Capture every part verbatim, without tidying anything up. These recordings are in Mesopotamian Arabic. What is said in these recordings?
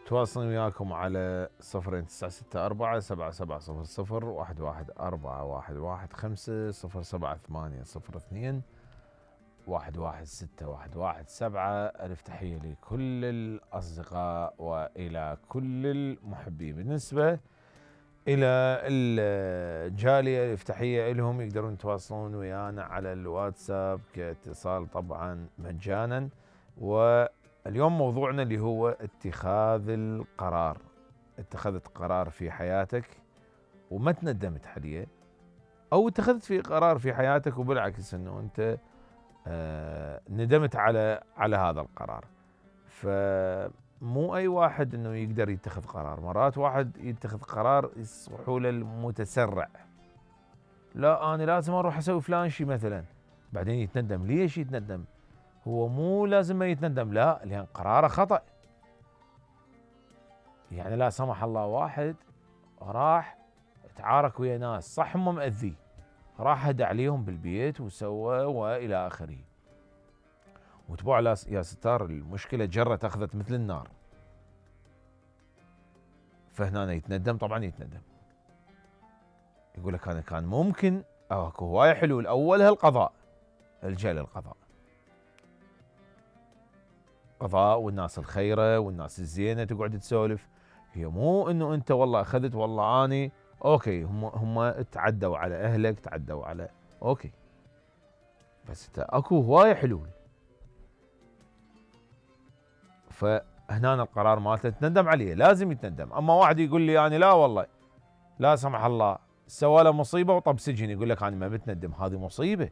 تواصلني وياكم على صفرين تسعة ستة أربعة سبعة سبعة صفر صفر واحد واحد أربعة واحد واحد خمسة صفر سبعة ثمانية صفر اثنين واحد واحد ستة واحد واحد سبعة. ألف تحية لكل الأصدقاء وإلى كل المحبين. بالنسبة إلى الجالية ألف تحية لهم، يقدرون يتواصلون ويانا على الواتساب كاتصال طبعا مجانا. واليوم موضوعنا اللي هو اتخاذ القرار. اتخذت قرار في حياتك وما تندمت عليه، أو اتخذت في قرار في حياتك وبالعكس أنه أنت آه ندمت على على هذا القرار. فمو أي واحد أنه يقدر يتخذ قرار. مرات واحد يتخذ قرار يصبحوا له المتسرع، لا أنا لازم أروح أسوي فلان شيء مثلا، بعدين يتندم. ليش يتندم؟ هو مو لازم ما يتندم، لا، لأن قراره خطأ. يعني لا سمح الله واحد راح تعارك ويا ناس، صح هم مأذي، راح هدى عليهم بالبيت وسوى والى اخره، وتبوع يا ستار المشكله جرت اخذت مثل النار. فهنا يتندم، طبعا يتندم، يقول لك انا كان ممكن اكو هواي حلول. اولها القضاء، الجا للقضاء، قضاء والناس الخيره والناس الزينه تقعد تسولف. هي مو انه انت والله اخذت والله اني اوكي، هم هم تعدوا على اهلك، تعدوا على اوكي، بس اكو هواي حلول. فهنا القرار مالته تندم عليه، لازم يتندم. اما واحد يقول لي يعني لا والله لا سمح الله سوى له مصيبه وطب سجن، يقول لك انا ما بتندم، هذه مصيبه.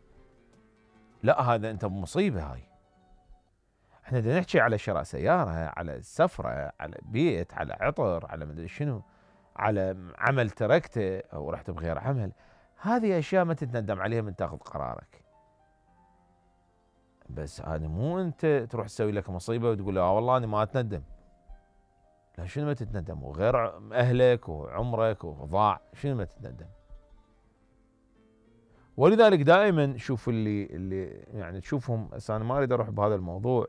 لا هذا انت بمصيبه. هاي احنا بدنا نحكي على شراء سياره، على سفره، على بيت، على عطر، على مدري شنو، على عمل تركته او رحت بغير عمل. هذه اشياء ما تتندم عليها من تاخذ قرارك. بس هذا مو انت تروح تسوي لك مصيبه وتقول اه والله انا ما اتندم. لا شنو ما تتندم؟ وغير اهلك وعمرك وضاع، شنو ما تتندم؟ ولذلك دائما شوف اللي اللي يعني تشوفهم، انا ما اريد اروح بهذا الموضوع،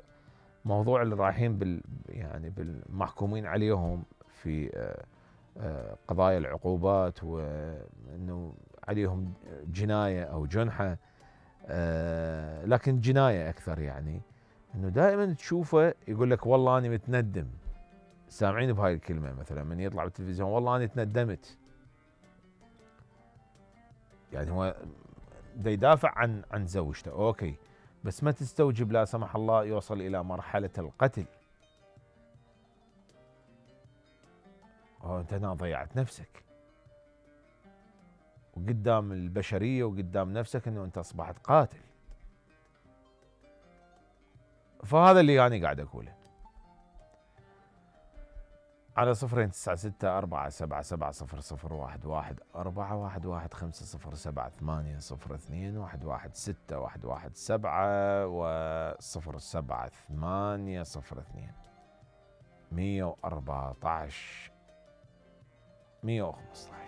موضوع اللي رايحين بال يعني بالمحكومين عليهم في قضايا العقوبات وانه عليهم جنايه او جنحه، لكن جنايه اكثر. يعني انه دائما تشوفه يقول لك والله انا متندم. سامعين بهاي الكلمه مثلا من يطلع بالتلفزيون، والله انا تندمت. يعني هو دا يدافع عن عن زوجته، اوكي، بس ما تستوجب لا سمح الله يوصل الى مرحله القتل. انت هنا ضيعت نفسك وقدام البشريه وقدام نفسك انه انت اصبحت قاتل. فهذا اللي انا يعني قاعد اقوله. على صفرين تسعة ستة أربعة سبعة سبعة صفر صفر واحد واحد أربعة واحد واحد خمسة صفر سبعة ثمانية صفر اثنين واحد واحد ستة واحد واحد سبعة وصفر سبعة ثمانية صفر اثنين مية وأربعة عشر مية وخمسة عشر.